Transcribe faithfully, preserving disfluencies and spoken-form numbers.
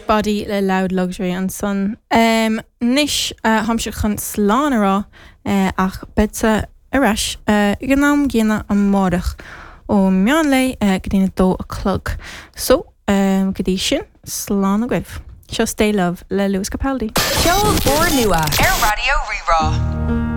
Body le Loud Luxury ansan. Um, Anois uh, táimse chun slán a rá uh, ach beidh ar ais uh, ag an am gcéanna amárach ó meán lae uh, go dtí a dó a chlog. So um, go dtí sin slán agaibh. Seo Stay Love le Lewis Capaldi. Ceol úrnua ar Raidió Rí-Rá.